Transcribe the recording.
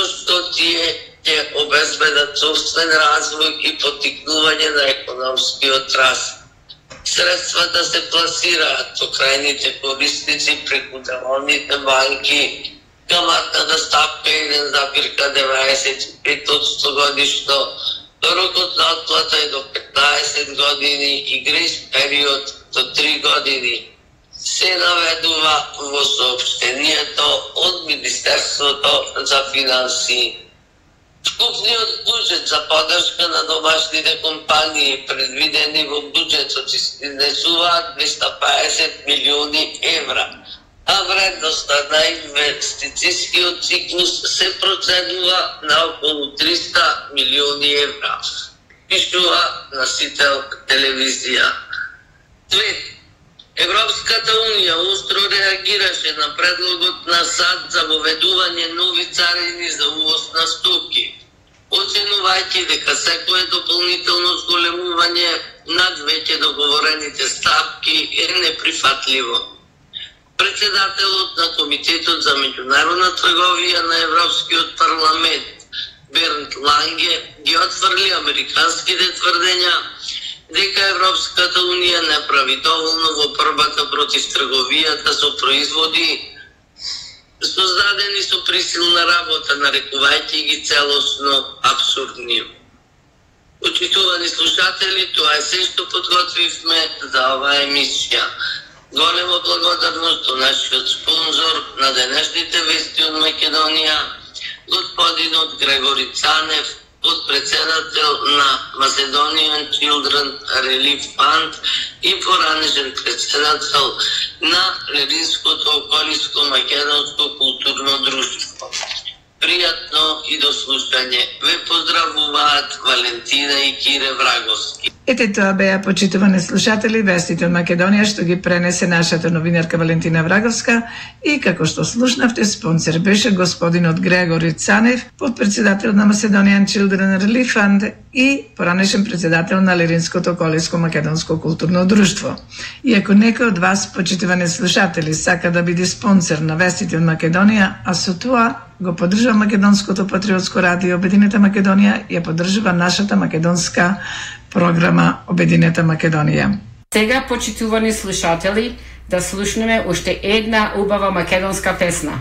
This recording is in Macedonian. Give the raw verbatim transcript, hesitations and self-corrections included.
што тие ќе обезбедат собствен развој и поттикнување на економскиот раст. Средствата се пласираат до крајните корисници преку деловните банки. Каматната ставка еден запирка деветдесет и пет одсто годишно, рокот на отплата е до петнаесет години и грейс период до три години. Се наведува во соопштението од Министерството за финансии. Вкупниот буџет за поддршка на домашните компании предвидени во буџетот изнесуваат двеста паесет милиони евра, а вредноста на инвестицијскиот циклус се проценува на околу триста милиони евра, пишува Носител телевизија. Две. Европската унија остро реагираше на предлогот на САД за воведување нови царини за увоз на стоки, оценувајќи дека секое дополнително зголемување над веќе договорените ставки е неприфатливо. Председателот на Комитетот за меѓународна трговија на Европскиот парламент Бернт Ланге ги отфрли американските тврдења дека Европската унија не прави доволно во борбата против трговијата со производи создадени со присилна работа, нарекувајќи ги целосно абсурдни. Почитувани слушатели, тоа е се што подготвивме за оваа емисија. Голема благодарност до нашиот спонзор на денешните вести од Македонија, господинот Грегори Цанев, подпредседател на Macedonian Children Relief Fund и поранешен председател на Леринското околиско македонско културно друштво. Пријатно и до слушање. Ве поздравуваат Валентина и Кире Враговски. Ете тоа беа, почитувани слушатели, вестите од Македонија што ги пренесе нашата новинарка Валентина Враговска и како што слушнавте, спонсор беше господинот Грегори Цанев, подпредседател на Macedonian Children Relief Fund и поранешен председател на Леринското околиско македонско културно друштво. И ако некој од вас, почитувани слушатели, сака да биде спонсор на вестите од Македонија, а со тоа го поддржува Македонското патриотско радио Обединета Македонија, ја поддржува нашата македонска програма Обединета Македонија. Сега, почитувани слушатели, да слушнеме уште една убава македонска песна.